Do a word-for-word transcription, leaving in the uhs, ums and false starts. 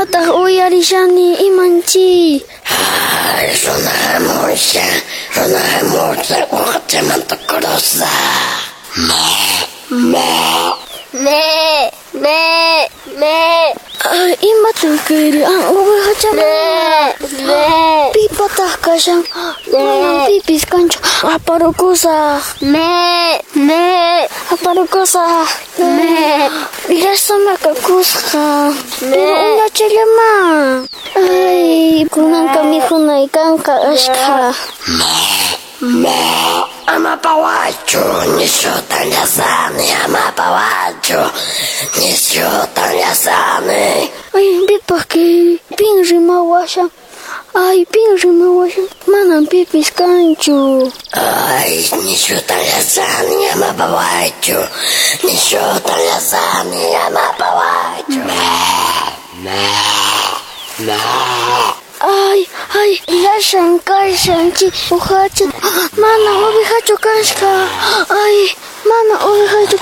Imataq uyarishani imanchi? Ay, runa hamushan, runa hamushan, uqachamanta cruzaq. Me, me. Me, me, me. Ay, imataq kayri? Ah, ovejacha. Me, me. Pipataq kashan? Manan pipis kanchu. Aparukusaq. Me, me. Aparukusaq. Me. Llasamaqa kusqa. Me. Pero uñachallamá. Ay, kunanqa mikhunay kanqa ashkha. Me, me. Ama pawaychu, nishutan llasani, ama pawaychu, nishutan llasani. Ay, pipaq kayri? Pin rimawashan? Ay, pin rimawashan? Manan pipis kanchu. Ay, nishutan llasani, ama pawaychu, nishutan llasani, ama pawaychu. Me, me, me. Ay, ay, llashan kashan chay uhacha. Mana ovejachu kasqa. Ay, mana ovejachu